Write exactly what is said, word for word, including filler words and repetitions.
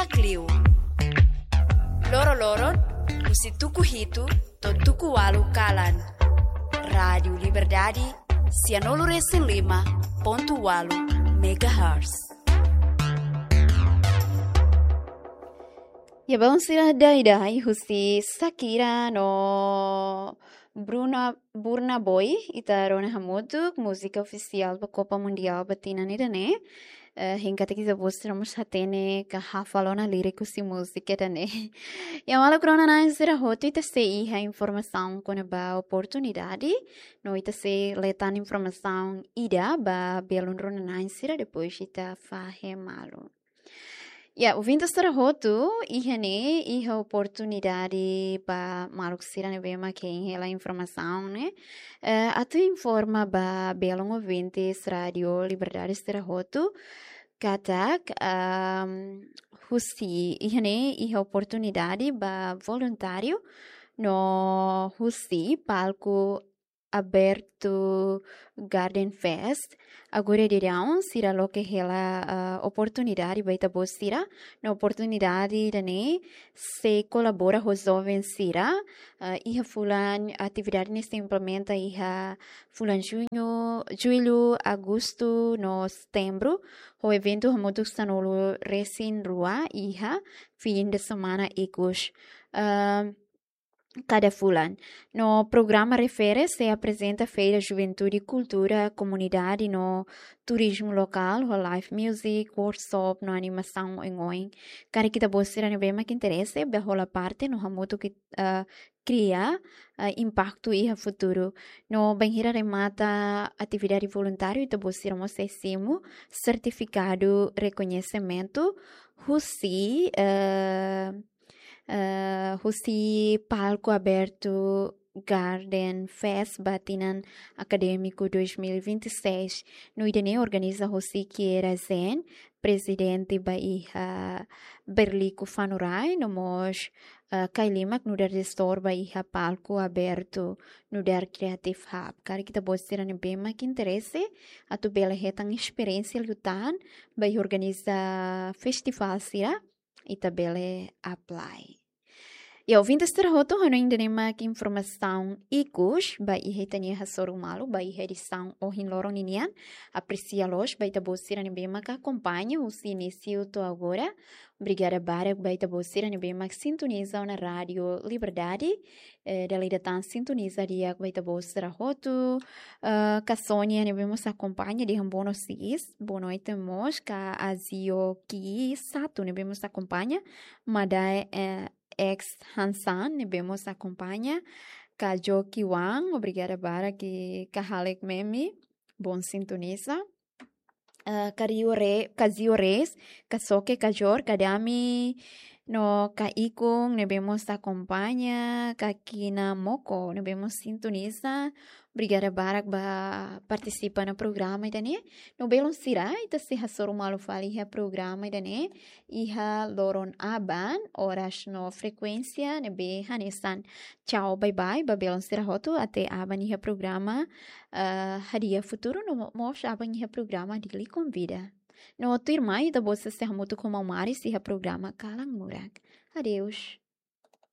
Klio. Loro-loron, husi tuku hitu to'o tuku ualu kalan. Rádiu Liberdade, sianulu-resin-lima pontu ualu megahertz. Ya, balun sira, dadeer husi Shakira no Bruna, Burna Boy, ita rona hamutuk múzika ofisiál ba Kopa Mundiál ba tinan ida-ne'e. Eh, hein katak ita-boot sira mós hatene ka hafal ona lirik husi múzika ida-ne'e. Ya, maluk rona-na'in sira hotu, ita sei iha informasaun kona-ba oportunidade, no ita sei lee tan informasaun ida ba belun rona-na'in sira, depois ita fahe malu. Ya, ouvinte sira hotu, iha ne'e, iha oportunidade ba maluk sira ne'ebé mak hein hela informasaun ne'e. Eh, atu informa ba belun ouvintes Rádiu Liberdade sira hotu, katak, ehm, husi, iha ne'e, iha oportunidade ba voluntáriu, no husi palku abertu Garden Fest. Agora daudaun sira loke hela, ah, oportunidade ba ita-boot sira. No oportunidade ida-ne'e sei kolabora ho joven sira. Ah, iha fulan atividade ne'e sei implementa iha fulan juñu, jullu, agostu no setembru. Ho eventu hamutuk sanulu-resin-rua iha fin de semana ikus. Ah, kada fulan. No programa refere sei aprezenta Feira Juventude, Kultura, Komunidade no Turizmu Lokál, ho live music, workshop no animasaun oin-oin. Karik ita-boot sira ne'ebé mak interese, bele hola parte no hamutuk, eh, kria, eh, impaktu iha futuru. No bainhira remata atividade voluntáriu, ita-boot sira mós sei simu sertifikadu rekoñesimentu husi, eh, eh, husi palku abertu Garden Fest ba tinan akadémiku dois mil e vinte e seis. No ida-ne'e organiza husi Kiera Zen, prezidente ba iha Berliku Fanurai, no mós, eh, Kailimak nu'udar jestór ba iha palku abertu nu'udar Creative Hub. Karik ita-boot sira ne'ebé mak interese, atu bele hetan esperiénsia liután ba iha organiza festivál sira, ita bele apply. Ya, ouvinte sira hotu, hanoin ida-ne'e mak informasaun ikus ba iha ita-nia hasoru malu ba iha edisaun ohin loron ninian. Apresia loos ba ita-boot sira ne'ebé mak akompaña husi inísiu to'o agora. Obrigada barak ba ita-boot sira ne'ebé mak sintoniza ona Rádiu Liberdade. Eh, dala ida tan sintoniza di'ak ba ita-boot sira hotu. Eh, ka Sónia ne'ebé mós akompaña dehan boa noite, boa noite mós, ka Azio Ki Sato ne'ebé mós akompaña, Madai, eh, X Hansan ne'ebé mós akompaña, ka Joki Wang, obrigada barak, ka Halek Memi, bom sintoniza. Eh, ka Rio Re-, ka Zio Reis, ka Soke, ka Jor, ka Dami, no ka Ikung ne'ebé mós akompaña, ka Kina Moko ne'ebé mós sintoniza. Obrigada barak ba partisipa iha programa ida-ne'e. No belun sira, ita sei hasoru malu fali iha programa ida-ne'e iha loron aban, oras no frekuénsia ne'ebé hanesan. Tchau, bye bye ba belun sira hotu, até aban iha programa, eh, Hadi'a Futuru, no mo-, mós aban iha programa Dili Konvida. No tuirmai ita-boot sei hamutuk ho maun Maris iha programa Kalan Murak. Adeus.